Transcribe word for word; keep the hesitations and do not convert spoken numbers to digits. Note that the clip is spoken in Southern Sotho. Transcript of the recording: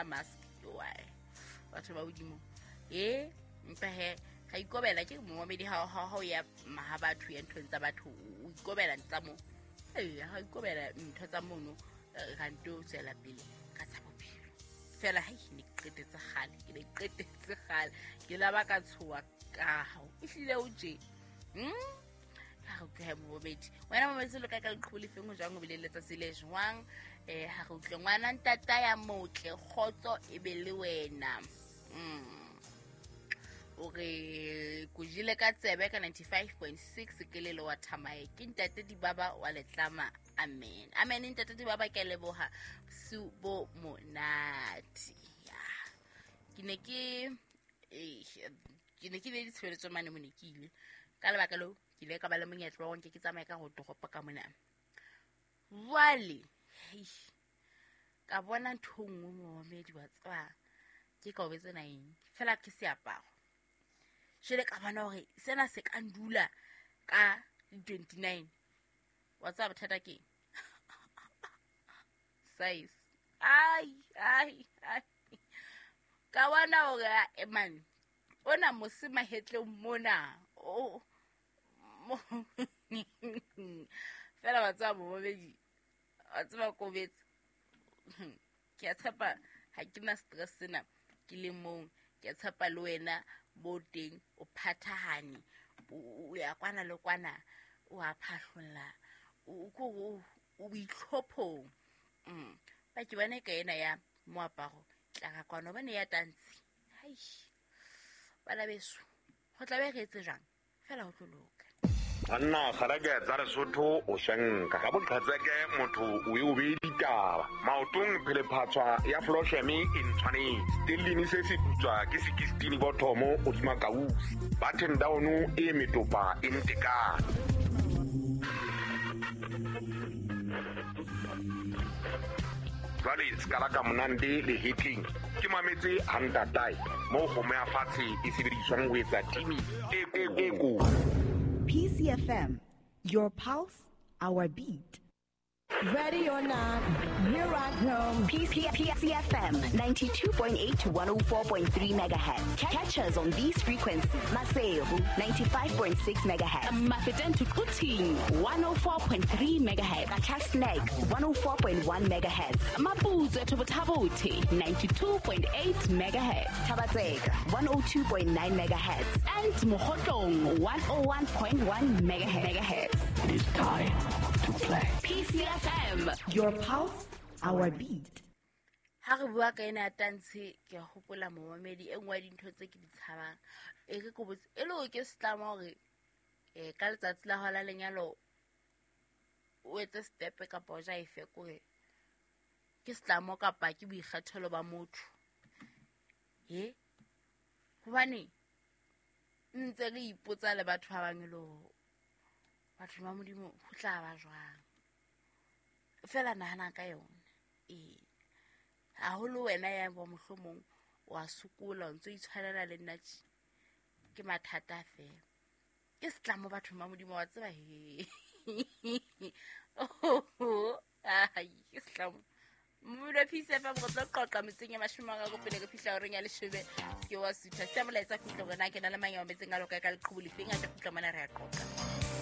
mask why batho ba hodimo e mpa he ga ikobela ke momedi ha ha ha ya maha batho ya nthong tsa batho o ikobela ntsa mo eh ha ikobela ntho tsa mono ga nto tswela pele ka tsa bophelo fela ha ke ne qetetse kgale ke ne qetetse kgale ke la ba ka tshoa ka hao e hlile o je mm ha re utlwe momedi wena momedi lo ka ka leqhubu le feng ho jwang o bile letsatsi le jwang eh ha re utlwe ngwana ntata ya motle kgotso e be le wena mm o re kujile ka tsebe ka ninety-five point six ke le wa Thamae ke ntate Dibaba wa Letlama amen amen ntate Dibaba ke leboha su bo monate ya ke ne ke eh ke ne ke le ditshebeletso mane mo ne ke ile ka lebaka leo ke ile ka ba le monyetla wa nke ke tsamaye ka go toropo ka mona jwale ka bona ntho nngwe momedi wa tswa ke ka o betsena eng fela ke seaparo jele ka bona hore sena se ka ndula ka twenty-nine wa tsaba bothata ke size ai ai ai ka bona hore e man ona mose mahetleng mona o fela wa tsaba momedi wa tsaba kobetse ke a tshepa ha ke na stress sena ke le mong ke a tshepa le wena bo teng o phathahane o ya kwana le kwana o a phahlolla o ko o itlhophong mm ba ke bana ka ena ya moaparo tla ka kwana bana ya tantsi hai bana beso ho tla be re etse jang fela ho tlo loka Anna garage tsa Lesotho o shanka ka boqhatseke motho o e o be ditaba maotong phele phatswa ya Flosheme e ntshwanetse stellini se se putswa ke sixteen bothomo o dima kausi button down e metopa e ntekana jwale skala ka monande le hitting ke mametse hantatai mo go me a fatshe e sebediswang ho etsa timi e e ko P C F M, your pulse, our beat. Ready or not, here I come. P C F M, ninety-two point eight to one oh four point three megahertz. Catch us on these frequencies. Maseru, ninety-five point six megahertz. Mafeteng to Quthing, one oh four point three megahertz. Qacha's one oh four point one megahertz. Maputsoe to Botha-Bothe, ninety-two point eight megahertz. Thaba-Tseka, one oh two point nine megahertz. And Mokhotlong, one oh one point one megahertz. It is time to play. P C F M, your pulse, our beat. Ha re bua ka ena tantshe ke hopola momamedi e nngwe ya dintho tse ke di tshabang e ke ko botse e le ke setlama hore eh ka letsatsi la hola lenyalo o etse step kapa o ja efe kore ke setlamo kapa ke boikgethelo ba motho he hobane ntse re ipotsa le batho ba bang le batho ba Modimo ho tla ba jwang fela nahana ka yona e haholo wena ya bo mohlomong wa sokola o ntso itshwanela le nna ke mathata fela ke setlamo batho ba Modimo wa tseba he oh ai ke setlamo Mmulo P C F M go tlo qoqa metseng ya mashome a go pele ke fihla horeng ya leshome ke wa sutha se molaetsa khutlo rena ke na le mang ya metseng a loka ka leqhubu lefeng a tla khutla mona re a qoqa.